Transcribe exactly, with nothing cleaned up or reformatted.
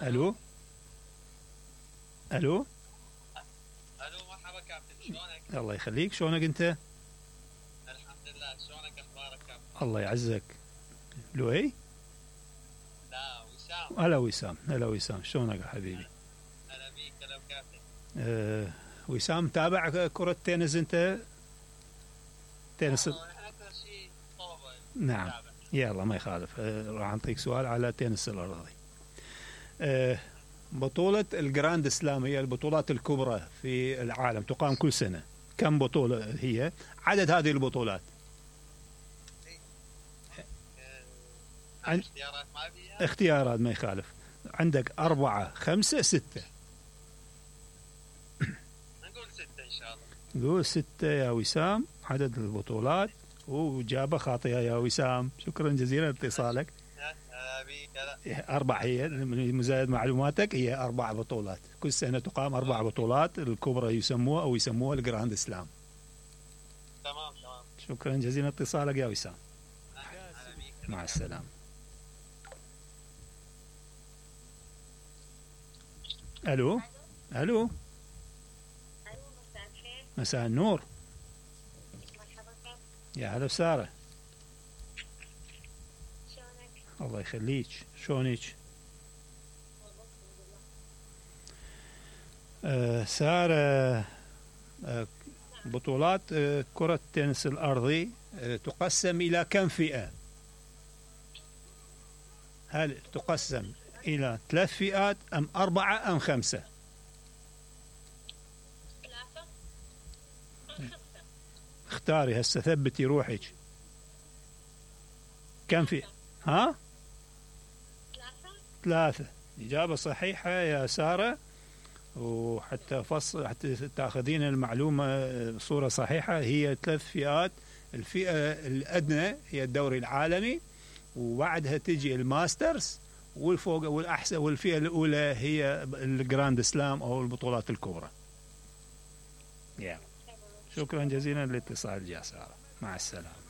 الو الو الو مرحبا كابتن، شلونك؟ الله يخليك، شلونك انت؟ الحمد لله، شلونك اخبارك كابتن؟ الله يعزك. لؤي؟ لا وسام. هلا وسام، هلا وسام، شلونك يا حبيبي؟ هلا بيك، هلا وكابتن. أه وسام، تابع كرة تنس انت؟ تنس. احنا اكثر شيء طلبه. نعم. يلا ما يخالف. أه راح اعطيك سؤال على تنس الارضي. أه بطولة الجراند سلام هي البطولات الكبرى في العالم، تقام كل سنة. كم بطولة هي؟ عدد هذه البطولات؟ عن... اختيارات ما فيها؟ اختيارات ما يخالف. عندك أربعة، خمسة، ستة. نقول ستة إن شاء الله. نقول ستة يا وسام عدد البطولات، وإجابة خاطئة يا وسام. شكرا جزيلا لاتصالك. أربع هي مزايد معلوماتك، هي أربع بطولات كل سنة تقام. أربع بطولات الكبرى يسموها أو يسموها الجراند سلام. تمام تمام. شكرا جزيلا لاتصالك يا وسام. مع السلامة. ألو ألو. مساء النور. يا هلا وسهلا. الله يخليك، شلونك؟ آه سارة، آه بطولات آه كرة التنس الأرضي آه تقسم إلى كم فئة؟ هل تقسم إلى ثلاث فئات أم أربعة أم خمسة؟ ثلاثة. اختاري هسه، ثبتي روحك. كم فئة؟ ها؟ ثلاثة. ثلاثة. إجابة صحيحة يا سارة، وحتى فصل حتى تاخذين المعلومة بصورة صحيحة، هي ثلاث فئات. الفئة الأدنى هي الدوري العالمي، وبعدها تجي الماسترز، والفوق والأحسن، والفئة الأولى هي الجراند سلام أو البطولات الكبرى. yeah. شكرا جزيلا للاتصال يا سارة، مع السلامة.